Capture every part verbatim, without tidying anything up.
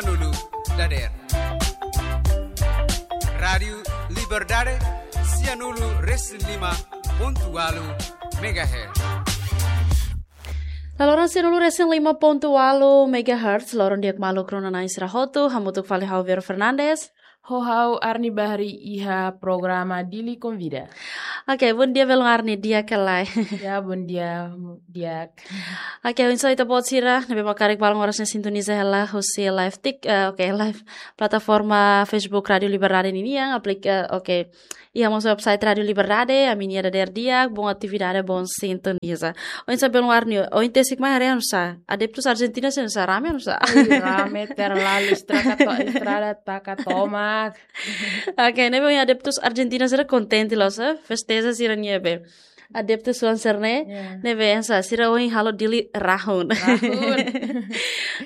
Sianulu dader. Rádiu Liberdade, sianulu resin lima pontu ualu megahertz. Laloran sianulu resin lima pontu ualu megahertz, loron di'ak maluk rona-na'in sira hotu, hamutuk fali ha'u Vero Fernandes. Ho ha'u Arni Bahri iha programa Dili Konvida. Oke, bondia belun Arni, di'ak ka lae? Ya, bondia, di'ak. Oke, oinsá ita-boot sira ne'ebé mak karik balun oras ne'e sintoniza hela husi live tik, eh, oke, live plataforma Facebook Rádiu Liberdade ninian, aplika, oke. Iha mós website Rádiu Liberdade, ami-nia dader di'ak, boa atividade, boa sintoniza. Oinsá belun Arni, ohin tesik mai haree oinsá? Adeptus Argentina sira oinsá, rame oinsá? Ai, rame terlalu, estrada to-, estrada taka tomak. Oke, ne'ebé ohin adeptus Argentina sira kontente loos, eh? Festeja sira-nia be. Adeptus oan sira-ne'e, Ya. ne'ebé oinsá, sira ohin halo Dili rahun. Rahun.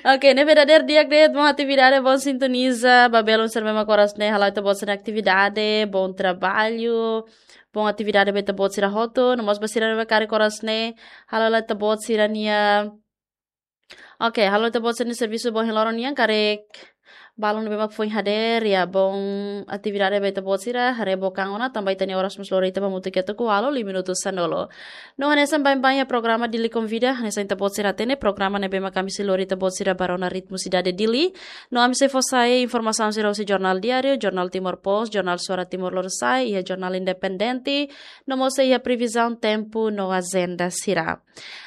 Oke, ne'ebé dader di'ak de'it, boa atividade, boa sintoniza, ba belun sira ne'ebé mak oras ne'e hala'o ita-boot sira-nia atividade, bom trabalho, boa atividade ba ita-boot sira hotu, no mós ba sira ne'ebé karik oras ne'e hala'o ita-boot sira-nia Oke, hala'o ita-boot sira-nia servisu ba ohin loron nian, karik balun ne'ebé mak foin hadeer, ya, bom atividade ba ita-boot sira, haree book an ona, tanba ita-nia oras mós lori ita ba hamutuk iha tuku ualu, lima minutu sanulu. No hanesan baibain iha programa Dili Konvida, hanesan ita-boot sira hatene, programa ne'ebé mak ami sei lori ita-boot sira ba rona ritmu sidade Dili. No ami sei fó sai informasaun sira husi Jornál Diáriu, Jornál Timor Post, Jornál Suara Timor Lorosa'e, iha Jornál Independente, no mós sei iha previzaun tempu no ajenda sira.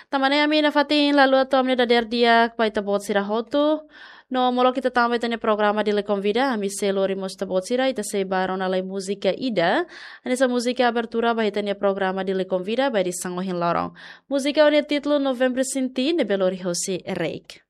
Tanba ne'e ami nafatin la haluha tau ami-nia dader di'ak ba ita-boot sira hotu. No molok ita tama ba ita-nia programa Dili Konvida, ami sei lori mós ita-boot sira, ita sei ba rona lai múzika ida. Hanesan múzika abertura ba ita-nia programa Dili Konvida, ba edisaun ohin loron. Múzika ho nia títulu Novembru Sinti, ne'ebé lori hosi Reik.